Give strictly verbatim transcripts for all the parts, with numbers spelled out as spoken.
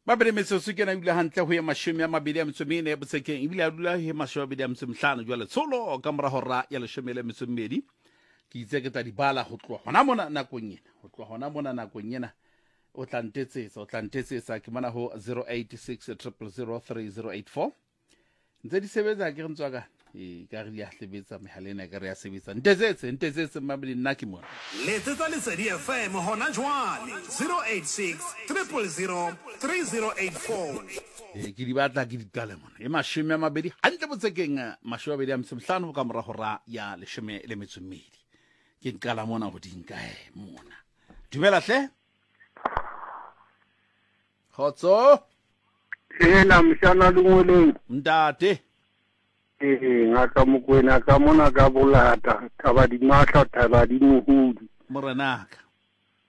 Babedi metsotso ke ena ebile hantle ho ye mashome a mabedi a metso mene botsekeng, ebile a dula he mashome a mabedi a metso mehlano jwale tsholo ka mora hora ya leshome le metso mmedi. Ke itse ke tla di bala ho tloha hona mona nakong ena, ho tloha hona mona nakong ena. O tla ntetsetsa, o tla ntetsetsa ke mona ho zero eight six triple zero three zero eight four. Ntse di sebetsa ke re ntswa ka e ka re di a sebetsa mehala ena, ka re ya sebetsa. Ntetsetse, ntetsetse mmamedi, nna ke mona. Letsetsa Lesedi F M hona jwale zero eight six triple zero three zero eight four. E ke di batla ke di qale mona. E mashome a mabedi hantle botsekeng, mashome a mabedi a metso mehlano ka mora hora ya leshome le metso e mmedi. Ke nqala mona ho di nka e mona. Dumela hle. Kgotso. Ena mshana lengweleng. Ntate. Ee, ngaka Mokoena ka mona ka bolata, thaba di matla, thaba di mohudi. Morenaka.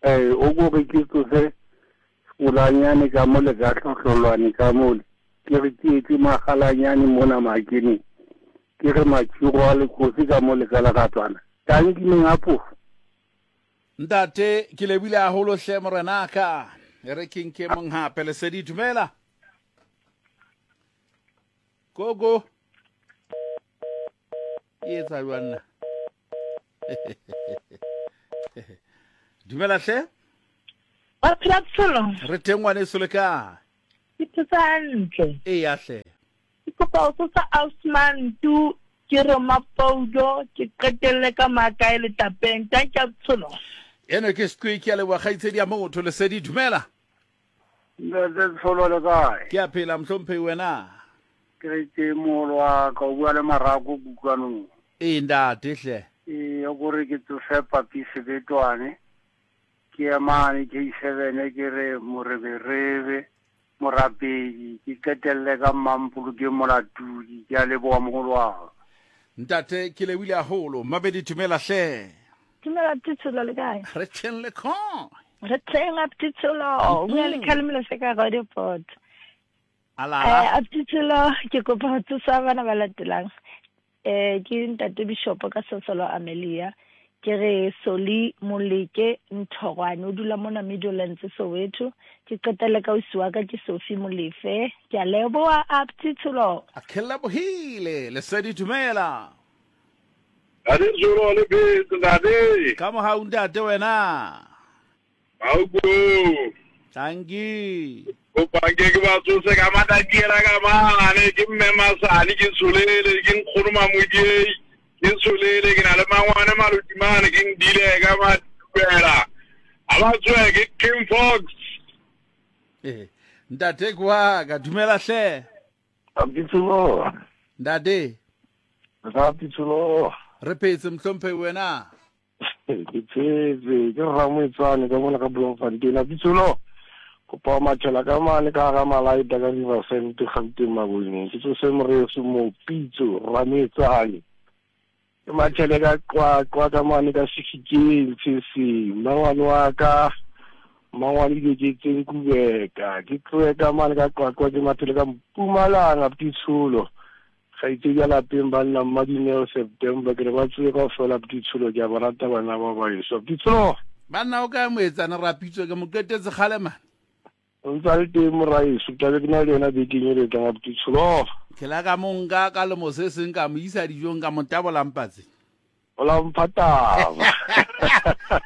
Eh, o go re ke tsose sekolanyane ka mole ka hlohlolwane ka mole. Ke re ke etse magalanyane mona makeneng. Ke re matširo a lekgosi ka mole ka leratswana. Tanki neng a phofu. Ntate, ke lebile haholo hle morenaka. E re ke nke mong hape, Lesedi, dumela. Gogo. E etsa jwang na? Dumela hle. Wa phela Tsholo? Re teng ngwaneso, le kae? Ke phetse hantle. Eya hle. Ke kopa ho tsosa Osman tu, ke re Mapoulo, ke qetelle ka makae letapeng. Thank you Tsholo. Eno ke Squeak ya leboha kgaitsedi ya motho. Lesedi, dumela. Ntate Tsholo, le kae? Ke a phela mohlomphehi, wena? Ke re ke moholo wa ka, o bua le Marako Kutlwanong. Ee, ntate hle. Ee, o kore ke tsose papi Sebetwane. Ke ya mane K seven, ke re moreberebe, morapedi, ke qetelle ka Mmampoloke Molatudi. Ke a leboha moholo wa ka. Ntate, ke lebohile haholo. Mabedi, dumela hle. Dumela Tsholo, le kae? Re teng le kae? Re teng Tsholo. O bua le Khalemelo se ka Roodepoort. Alala. Eh, Tsholo, ke kopa ho tsosa bana ba latelang. Eh, ke ntate Bishop ka Sosolo Amelia. Ke re Soli Moleke Nthorwane, o dula mona Midlands Soweto. Ke qetelle ka ausi wa ka ke Sophie Molefe. Ke a leboha Tsholo. A ke lebohile. Lesedi, dumela. Ntate Tsholo, le phetse ntate. Ka mohau ntate wena. Mauko. Thank you. Kopa ke ke ba tsose ka matatiela ka mane, ke mme Masane, ke tsholele, ke nkgono Mamodiei, ke tsholele, ke na le mangwane Malodimane, ke ndile ka matubela. A ba tswe ke King Fox. Eh, ntate kwa ka dumela hle. Abditsholo. Ntate. Abditsholo. Re phetse mohlomphehi wena. Ke phetse, ke Ramoetsane ka mona ka Bloemfontein. Abditsholo. Kopa mathela ka mane ka hara Malaita ka Riverside Gauteng Maboneng. Ke tsose moreso mo Pitso Rametsane. Ke mathele ka Qwaqwa ka mane ka Sefikeng Tsheseng. Mmangwane wa ka, mmangwane Dikeketseng Kubeka. Ke tlohe ka mane ka Qwaqwa ke mathele ka Mpumalanga Abditsholo. Kgaitsedi ya lapeng banna Mmadineo September, ke re ba tsohe kaofela Abditsholo, ke a ba rata bana ba baheso. Abditsholo. Banna o kae moetsana Rapitso, ke mo qetetse kgale mane. O ntse a le teng moraeso, tlabe ke na le yena bekeng e le tlang Abditsholo. Ke la ka mo nka ka lemo se seng ka mo isa dijong ka mo tabola mpatse. O la mpha taba.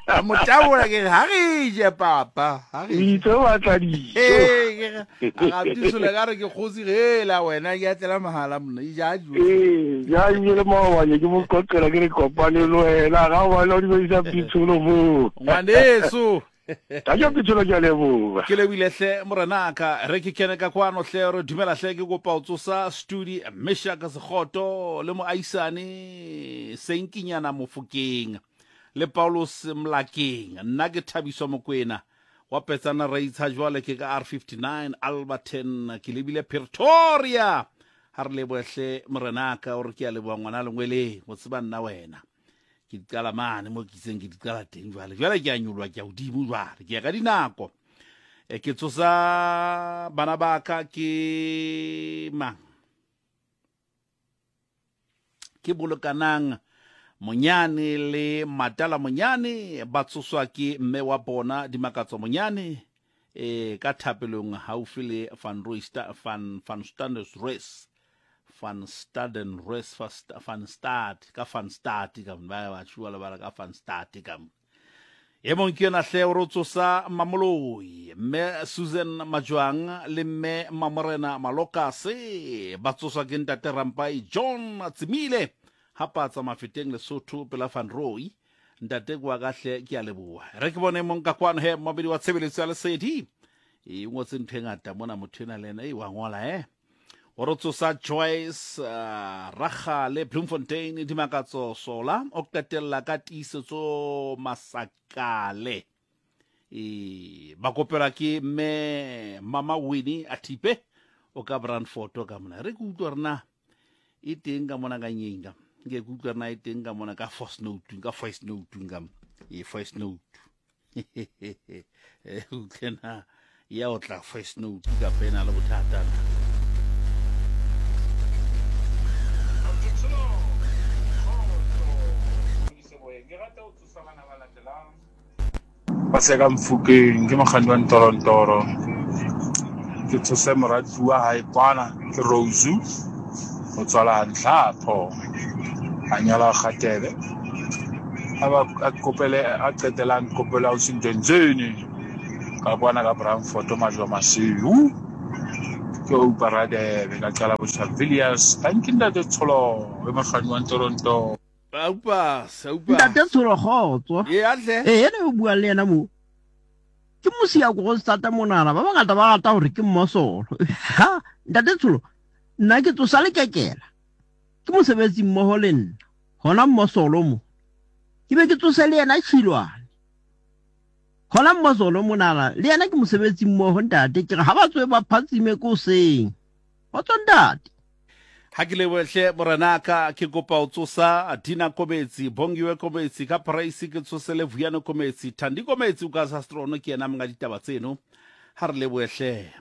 Ka mo tabola ke re, ha re je papa, ha re je. O itse o batla dijo. Ee, ke re, a Abditsholo ka re ke kgosi hela wena, ke a tlela mahala monna, e ja dijo. Ee, ja ebile le maobane ke mo qoqela ke re kopane le wena, ga o bane o di bedisa Abditsholo moo. Ngwaneso. Ka ke Abditsholo, ke a leboha. Ke lebohile hle morenaka. Re ke kene ka kwano hle, re dumela hle, ke kopa ho tsosa studi Meshaka Sekgoto le moaisane Senkinyana Mofokeng le Paulus Mlakeng. Nna ke Thabiso Mokoena wa Petsana Raitsha, jwale ke ka R fifty-nine Alberton, ke lebile Pretoria. Ha re lebohe hle morenaka, o re ke a leboha ngwana lengweleng, o tseba nna wena. Ke di qala mane mo ke itseng ke di qala teng jwale. Jwale ke a nyoloha, ke a hodimo jwale, ke ya ka dinako. E, ke tsosa bana ba ka ke mang? Ke Bolokanang Monyane le Matala Monyane, ba tsoswa ke mme wa bona Dimakatso Monyane. e ka thapelong haufi le Van Rooysta Van Van Staden Van Staden Res Van Stad ka Van Stad ka ba ba tshua le ba ka Van Stad ka e mong ke yona hle o re tsosa Mamoloi mme Susan Majwang le mme Mamorena Malokase ba tsoswa ke ntate Rampai John Tsimile hapa tsa Mafeteng Lesotho pela Van Rooy ntate kwa ka hle ke a leboha re ke bone mong ka kwano he mabedi wa tshebeletso ya Lesedi e ngotse ntho e ngata mona motho ena le ena e wa ngola eh o re tsosa Joyce uh, Ragale Bloemfontein Dimakatso Sola o qetella ka tiisetso Masakale e ba kopela ke mme Mama Winnie Atipe o ka Brandfort ka mona re ke utlwa rena e teng ka mona ka nyeng ka nke ke utlwa rena e teng ka mona ka voice note ka voice note ka e voice note e utlena ya o tla voice note ka pena le bothata. Ba se ka Mfokeng ke mokganni wa Ntorontoro ke tsose moratuwa wa hae kwana ke Rose o tswala Ntlhapho a nyala Kgatebe a ba a kopele a qetelang kopela o Sintenzeni ka kwana ka Brandfort Majwa Masiu ke o Paradebe ka qala botjha Villiers. Thank you ntate Tsholo e mokganni wa Ntorontoro. Aupa, aupa. Ntate Tsholo kgotso. E atle. Eh ena o bua le yena mo. Ke mosia go go stata monana ba bangata ba rata hore ke mmosolo. Ha, ntate Tsholo nna ke tsosa le kekela. Ke mosebetsi mmoho le nna. Hona mmosolo mo. Ke be ke tsose le yena Tshilwane. Hona mmosolo monana le yena ke mosebetsi mmoho ntate ke re ha ba tswe ba phatsime ko seng. Kgotso ntate. Ha ke lebohle morenaka ke kopa o tsosa Dina Kometsi Bongiwe Kometsi ka Price ke tsose le Vuyano Kometsi Thandi Kometsi o ka sa Strono ke yena monga ditaba tseno ha re lebohle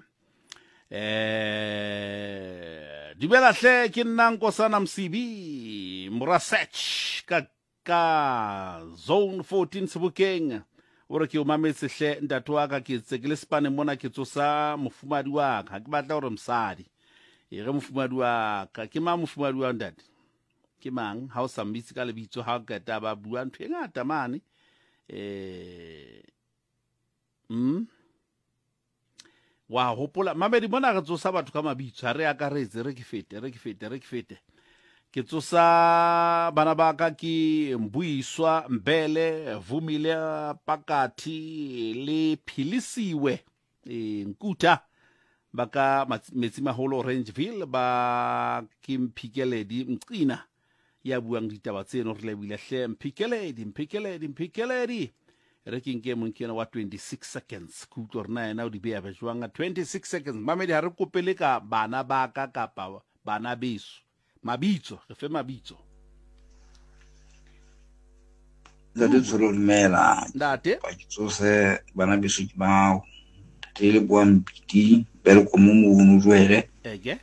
eh dumela hle ke nna Nkosana Msibi Morasech ka ka zone fourteen Sebokeng o re ke o mametse hle ntate wa ka ke tse ke le spane mona ke tsosa mofumadi wa ka ke batla hore mosadi e re mofumadi wa ka ke mang mofumadi wa ntate ke mang ha o sa mmitse ka lebitso ha o qeta ba bua ntho e ngata mane eh mm wa hopola mamedi mona re tsosa batho ka mabitso ha re akaretse re ke fete re ke fete re ke fete ke tsosa bana ba ka ke Mbuiswa Mbele Vumile Pakathi le Philisiwe e Nkuta ba ka Metsi Maholo Orangeville ba ke Mphikeledi Mqina ya buang ditaba tseno re lebile hle Mphikeledi Mphikeledi Mphikeledi re ke nke mong ke yena wa twenty-six seconds ke utlwa rena yena o di beya jwang twenty-six seconds mamedi ha re kopele ka bana ba ka kapa bana beso mabitso re fe mabitso. Ntate Tsholo dumela ntate ba ke tsose bana beso ke bao tele bua Mpiti bere ko mo mono jwele eke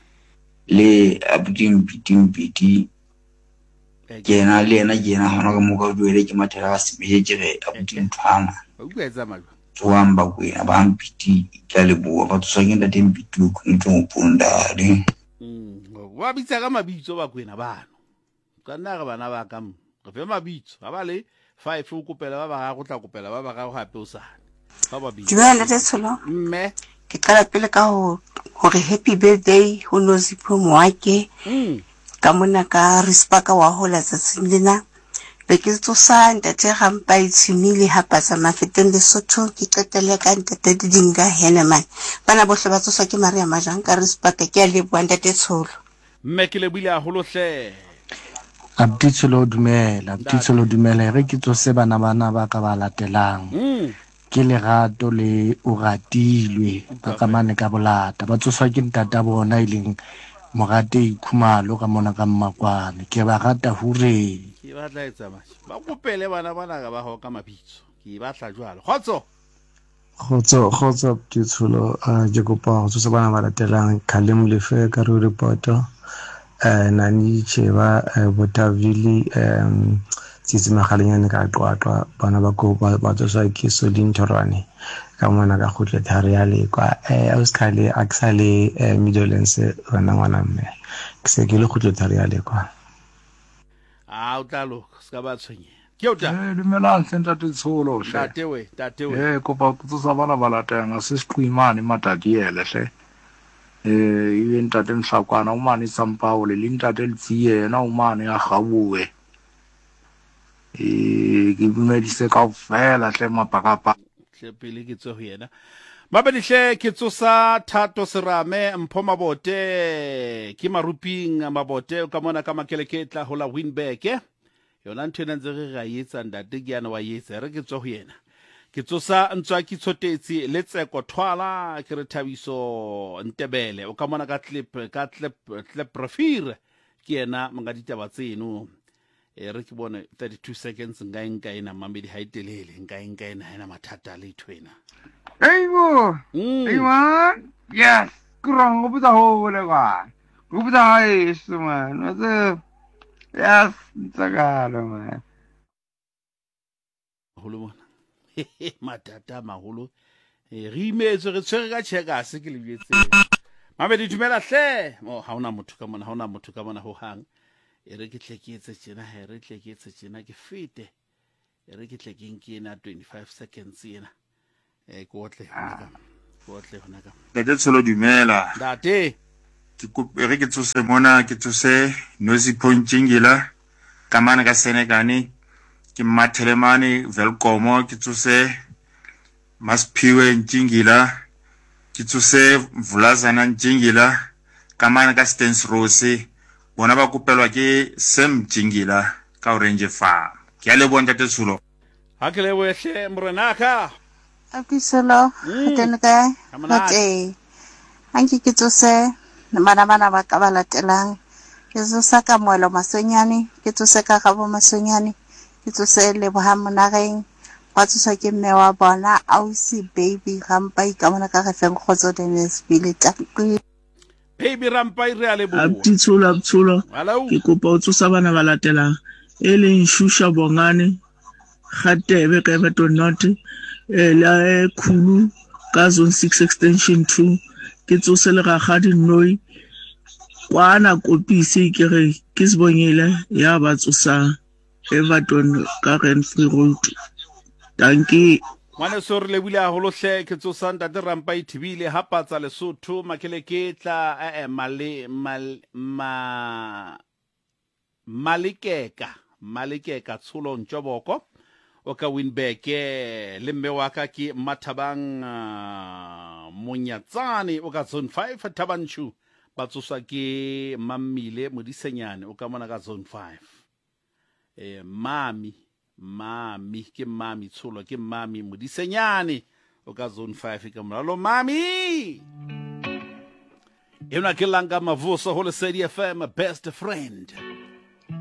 le abuti Mpiti Mpiti ke ena le ena ke ena hona ka mo ka jwele ke mathela a sebeje ke re abuti nthwana o bua etsa majwa tswang ba kwena ba Mpiti ka le bua ba tswa ke ntate Mpiti o ntse o punda le mm wa bitsa ka mabitso ba kwena bano ka nna re bana ba ka mo re fe mabitso ha ba le five o kopela ba ba go tla kopela ba ba ga hape o sane. Dumela ntate Tsholo. Mme ke qala pele ka ho hore happy birthday ho Nozipho Moake. Mm. Ka mona ka Rispaka wa hola tsatsing lena. Be ke tsosa ntate Rampai Tshimile ha patsa Mafeteng Lesotho ke qetelle ka ntate Didinga Heneman. Bana bohle ba tsoswa ke Maria Majang ka Rispaka ke a leboha ntate Tsholo. Mme ke lebile haholo hle. Abuti Tsholo dumela, abuti Tsholo dumela re ke tsose bana bana ba ka ba latelang. Mm. Ke Lerato le Oratilwe ba ka mane ka bolata ba tsoswa ke ntata bona e leng Morate Khumalo ka mona ka Mmakwane ke ba rata hure ke batla etsa mashe ba kopele bana bana ka ba ho ka mabitso ke batla jwalo kgotso kgotso kgotso Tsholo ke kopa ho tsosa bana ba latelang Khalem Lefe ka re reporter eh Nani Cheba Botavili um Tsitsi Magalenyane ka Qwaqwa. Bana ba ko ba ba tsoswa ke Solin Thorwane ka mona ka kgutle thari ya Lekwa. Eh ausi a ke sa le eh, Midlands wena ngwana mme. Ke se ke le kgutle thari ya Lekwa. A o tla loka, se ka ba tshwenyeha. Ke o tla. Eh dumelang hle ntate Tsholo hle. Ntate we, ntate we. Eh kopa go tsosa bana ba latang a se seqimane matadiele hle. Eh ibe ntate Mhlakwana o mane Sampaole le ntate Letsie yena o mane a Gaboe. Eh ke dumedise kaofela hle mapakapa. Hle pele ke tswe ho yena. Mabedi hle ke tsosa Thato Serame Mpho Mabote ke Maruping Mabote ka mona ka Makeleketla ho la Winburg. Yona ntho ena ntse re ra etsa ntate ke yana wa etsa re ke tswe ho yena. Ke tsosa Ntswaki Tshotetsi le Tseko Thwala ke re Thabiso Ntebele o ka mona ka clip ka clip clip profile ke yena monga ditaba tseno. E re ke bone thirty-two seconds nka e nka ena mamedi ha e telele nka e nka ena ha ena mathata le ntho ena. Hey bo. Mm. Hey man. Yes, kurang go botsa hole kwa. Go botsa haeso man. What's up? Yes, ntsakalo man. Haholo mona. Mathata a maholo. E re imetswe re tshwere ka checkers ke le jwetse. Mamedi dumela hle. Oh ha ona motho ka mona, ha ona motho ka mona ho hang. E re ke tle ke etse tjena, he re tle ke etse tjena ke fete. E re ke tle ke nke ena twenty-five seconds ena. E ke otle hona ka. Ke otle hona ka. Ntate Tsholo dumela. Ntate. Ke kope re ke tsose mona ke tsose Nosipho Ntjingila ka mane ka Senekane ke mathele mane Welkomo ke tsose Masiphiwe Ntjingila ke tsose Mvulazana Ntjingila ka mane ka Stens Rose bona ba kopelwa ke Sam Ntjingila ka Orange Farm. Ke a leboha ntate Tsholo. Ha ke lebohe hle morenaka. Abuti Tsholo, Mm. teng kae? Ha monate. Ntate. Anke ke tsose bana bana ba ka ba latelang. Ke tsosa ka Moelo Masonyane, ke tsose ka Gabo Masonyane, ke tsose Lebohang Monareng, ba tsoswa ke mme wa bona Ausi Baby Rampai ka mona ka re feng kgotso Dennisville. Tanki. Baby Rampai re a leboha. Abuti Tsholo, Abuti Tsholo. Hello. Ke kopa o tsosa bana ba latelang e leng Shusha Bongane Kgatebe ka Everton North eh la Khulu ka zone six extension two ke tsose le Rakgadi Noi kwana Kopisi ke re ke Sibongile ya ba tsosang Everton ka Renfree Road. Dankie. Ngwaneso re lebile haholo hle ke tsosa ntate Rampai Thibile ha patsa Lesotho Makeleketla eh eh male mal ma Malekeka Malekeka Tsholo Ntjoboko o ka Winburg le mme wa ka ke Mathabang uh, Monyatsane o ka zone five Thabanchu ba tsoswa ke Mammile Modisenyane o ka mona ka zone five. Eh mami mami ke mami Tsholo ke mami Modisenyane o ka zone five ka moralo mami. Ena ke Langa Mavuso ho Lesedi F M best friend.